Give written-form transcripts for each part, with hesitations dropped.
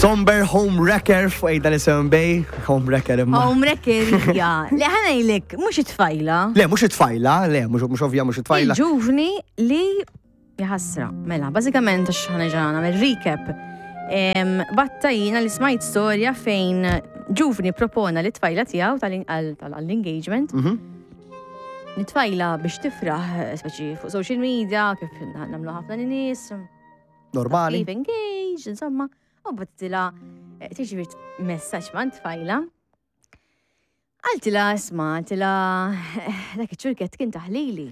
Somber Home Wrecker fuq ejda li sewn bay, Home Wrecker imma. Home Wrecker hija. Le ħa ngħidlek, mhux it-tfajla. Le, mhux it-tfajla, le, mhux ovvja mhux it-tfajla. Il-ġuvni li jaħasra. Mela, bażikament għax ħa nerġa' nagħmel recap. Batta jiena li smajt storja fejn ġuvni propona li tfajla tiegħu tal-engagement. Mhm. Nitfajla biex tifraħ, speċi fuq social media, kif nagħmlu ħafna nies. Normali. Kif engaged, insomma. U battila eh, tiġi messaġġ ma' tfajla. Għaltila, isma, għaltila, eh, dak iċ-ċurkett kien taħlili.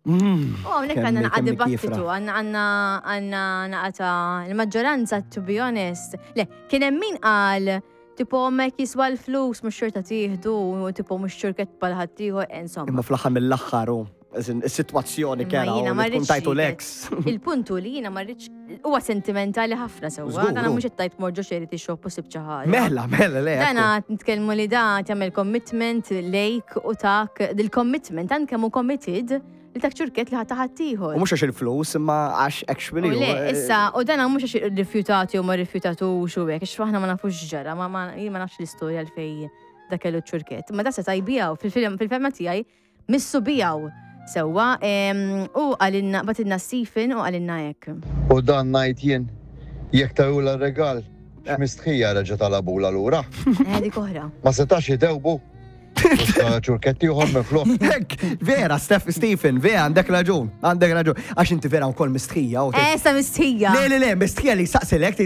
Mm, U għamlek għanna naqa dibattitu, għanna għanna għanna naqata l-maġġoranza, to be honest. Le, kien hemm min qal, tipo, mek jiswa l-flus, mux xorta tieħdu, tipo, mux ċurkett bħal ħaddieħor, eh, insomma. Imma fl-aħħar mill-aħħar u is-sitwazzjoni kera u tkun tajtu l-ex. Il-puntu li jiena ma rridx huwa sentimentali ħafna sewwa, dana mhux qed tajt morġo xejn li xop u sib xi ħaġa. Mela, mela, le. Dana nitkellmu li da tagħmel commitment lejk u tak dil-commitment tant kemm hu committed li tak ċurket li ħadd ħaddieħor. U mhux għax il-flus imma għax actually. Le, eh, issa, u dana mhux għax irrifjutati u ma rrifjutatux u hekk, għax aħna ma nafux ġara, ma ma nafx l-istorja l fej da kellu ċurket. Ma da se tajbijaw fil-fema tiegħi Missu biegħu sewwa u qalilna bagħtilna Stephen u qalilna hekk. U dan ngħid jien, jekk tawulha r-rigal, x'mistħija reġa' talabulha lura. Eh, dik oħra. Ma setax itewbu. Ċurkett ieħor minflok. Hekk, vera, Steph Stephen, vera, għandek raġun, għandek raġun. Għax inti vera wkoll mistħija. Eh, sa mistħija. Le, le, le, mistħija li saqsilek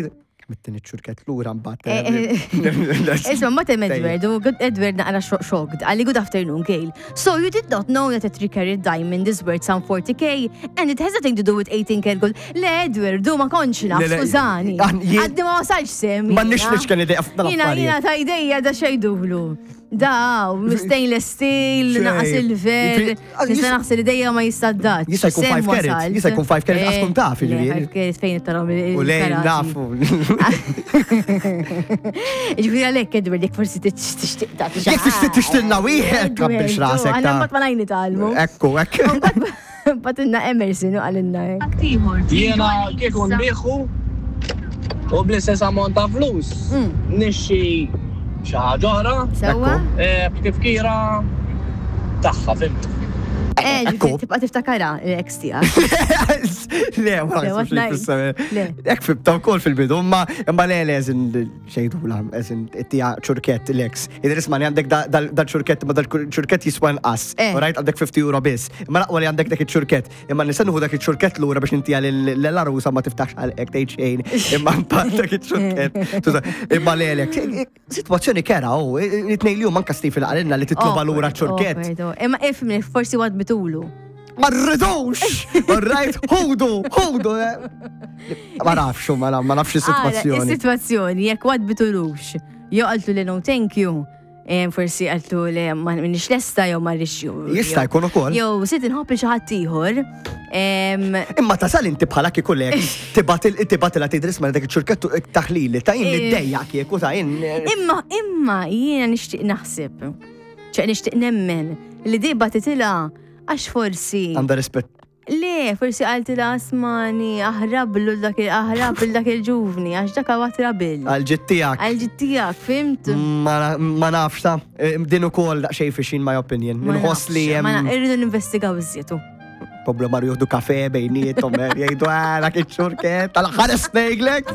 Mittini ċurket lura mbagħad. Eh, eh, Isma' ma tem Edward, u Edward naqra shocked, għalli good afternoon, Gail. So you did not know that a 3 carat diamond is worth some 40k and it has nothing to do with 18 karat gold. Le Edward, du ma kontx naf, skużani. Għaddi ma wasalx sem. Ma nix nix kelli dejja Jina jina ta' idejja da xejdulu. Da, stainless steel, naqa silver. Nista' naħseb li dejja ma jistaddax. Jista' jkun 5 carat, jista' jkun 5 carat għax tkun taf jiġifieri. 5 carat fejn tarom il U lejn nafu. Ġifieri għalhekk Edward jekk forsi tixtieq tagħti. Jekk tixtieq tixtilna wieħed kabbix rasek. Għandna mbagħad ma ngħid nitgħallmu. Ekku, ekk. Batilna Emerson u qalilna hekk. Jiena kieku nbieħu u bl-istess ammont ta' flus mm. nixxi xi ħaġa oħra. Sewwa. Eh, b'tifkira tagħha, fimt. Eh, ġifieri tibqa' tiftakara l-ex tiegħek. Le, ma naħsibx li Ek fibta wkoll fil-bidu, imma imma le le xejdula, eżin tija ċurkett l-ex. Idris ma għandek dal-ċurkett, ma dal-ċurkett jiswa nqas. Eh. Rajt għandek 50 euro biss. Imma laqwa li għandek dak iċ-ċurkett. Imma nista' nieħu dak iċ-ċurkett lura biex intija l-arusa ma tiftax għalqek tgħid xejn. Imma mbagħad dak iċ-ċurkett. Imma lelek. Sitwazzjoni kera u it-tnejn li huma anke Stephen qalilna li titloba lura ċurkett. Imma ifhimni forsi wad bitulu. Ma rridux! All right, ħudu, ħudu! Eh. Ma nafx, ma nafx is-sitwazzjoni. Is-sitwazzjoni, jekk wad bitulux, jew qaltu li no thank you, eh, forsi qaltu li ma minix lesta jew ma rridx. Jista' jkun ukoll. Jew sit inħobb li xi ħadd ieħor. Imma tasal inti bħala kieku lek tibatilha tidris ma dak iċ-ċurkettu taħlili ta' jien li eh. dejja kieku ta' jien. Imma imma jiena nixtieq naħseb. ċe nixtieq nemmen li di batitilha Għax forsi. Għandha rispett. Le, forsi għalti la asmani, aħrablu dak il-aħrab dak il-ġuvni, għax dak għawat rabil. Għal-ġit tijak. Għal-ġit tijak, fimt? Ma nafx ta' eh, din ukoll daqsxejn fixin my opinion. Nħoss li hemm. Ma irridu ninvestigaw iżjed. Problema juhdu kafe bejnietom, eh, jgħidu ah, dak iċ-ċurket, tal-ħares ngħidlek.